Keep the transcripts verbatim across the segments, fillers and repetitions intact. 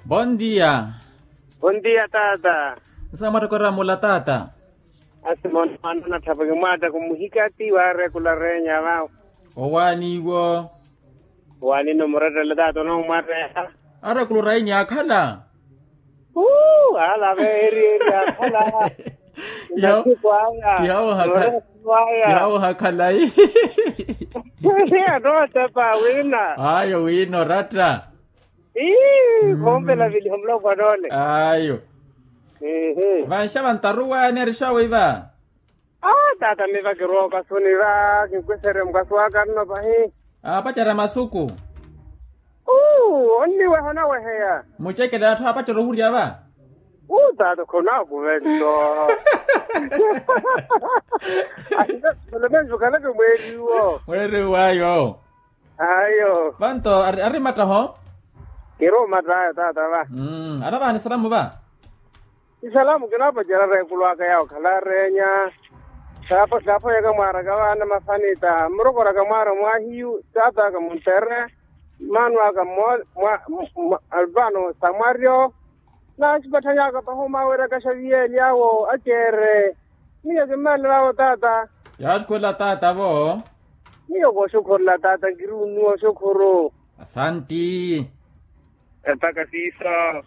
Bondia. Bondia taata. Nsa mwattokorera mula taata. Asimoni mwanana tthapweke mwaatta kumuhikati waarekula reenya vawo. Owaani iwo. Owaani no murettele taata onoomwareha. Arekula orainya akhala. Uu alave eri eri akhala. Masiku aya. Kihawo hakhala. Kihawo hakhala. Anootepa wina. Ayo wina oratta. Ii khoompela viliho muloko anoole. Ayo. Vanxa vantaruwaani arixawe iva. Aa taata miva kirooka suni va kinkwisere mukasi waka nno pahi. Aapacari a masuku. Uu onniweha onaweheya. Mucekele atthu aapacari ohurya va. Uu taata khonaakuve nto. Ahive kholomenju khaleke mweeriwo. Mweeriwo ayo. Ayo. Vanto ari mattaho. Kiri omattayo taata va. Anavaani salamu va. Isalamu kinaapacerya reekulu aka yawo khala areenya. Saaphweyaka mwaaraka vaana mafanita murokoraka mwaara mwaahiyu taat'aka muntere. Mmaano aka mmosa mwa mwa alpaano samwaryo. Naasipatthanyaka pahi omaaweryaka xaviye elyawo akeere. Miyo kimmeelelawo taata. Yaaxukhurela taata vo. Miyo kooxukhurela taata nkiri unnuwa oxukhuru. Asanti. Epaka siiso.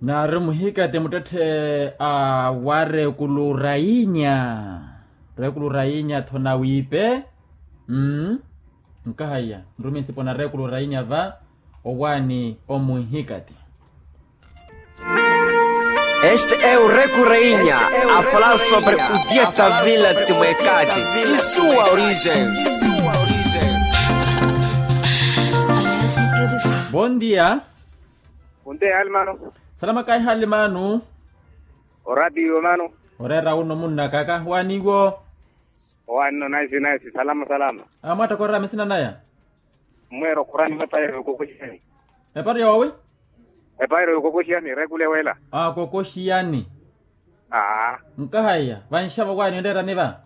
Naari muhikati muttetthe a wa reekulu rainya. Reekulu rainya tho nawiipe. Mmm. Nkahaiya nrumi nsipo na reekulu rainya va. Owaani omuhikati. Este é o reku reinya a falar sobre o dia da vila de moekati e sua origem. Bondia. Bondia hali mano. Salama kayi hali mano. Oratiyo mano. Oreera uno munnaka kahi waaniwo. Owaani no naisi naisi salama salama. Amwatta koorera misina naya. Mmweera okhurani mwa epairo yokokoxiyani. Epairo yoowi? Epairo yokokoxiyani reekule wela. Aa kokoxiyani. Aa. Nkahaiya vanxavo waani onreerani va?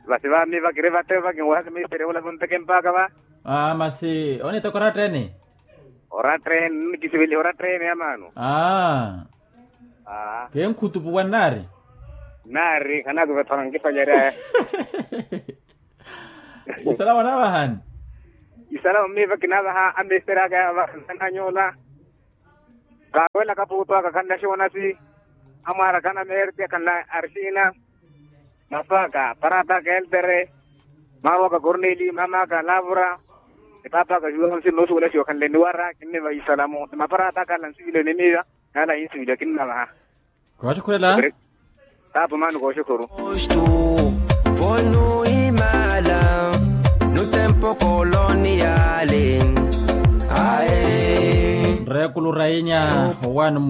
Vasi va miva kiri vatteva kinwehaka misterya wela vonteke mpaaka va. Aa masi oniteka oratteni. Oratteni nikisiveliha oratteni ya maano. Aa. Aa. Kenkhutupuwa nnaari. Nnaari khanakuvetthana nkifalyaryaya. Isalamu anaavahani. Isalamu miiva kinaavaha amisteraka yaavaha nsananyoola. Kaawelaka puutu aka khanla xonasi. Amwaara khana meerti akhanla arixina. Mapaka parata keltere. Maarwaka korneli mamaka lavura. Epapaka juwa onsi noosuwela xiyokhanle niwara kinniva isalamu ni maparata akhanla nsiwile ni miiva. Naala yinsiwile kinnavaha. Kooxukhurela. Taapo maani kooxukhuru. Postu. Vonu imala. Nutempo koloniyale. Ae. Reekulu rainya. Owaani.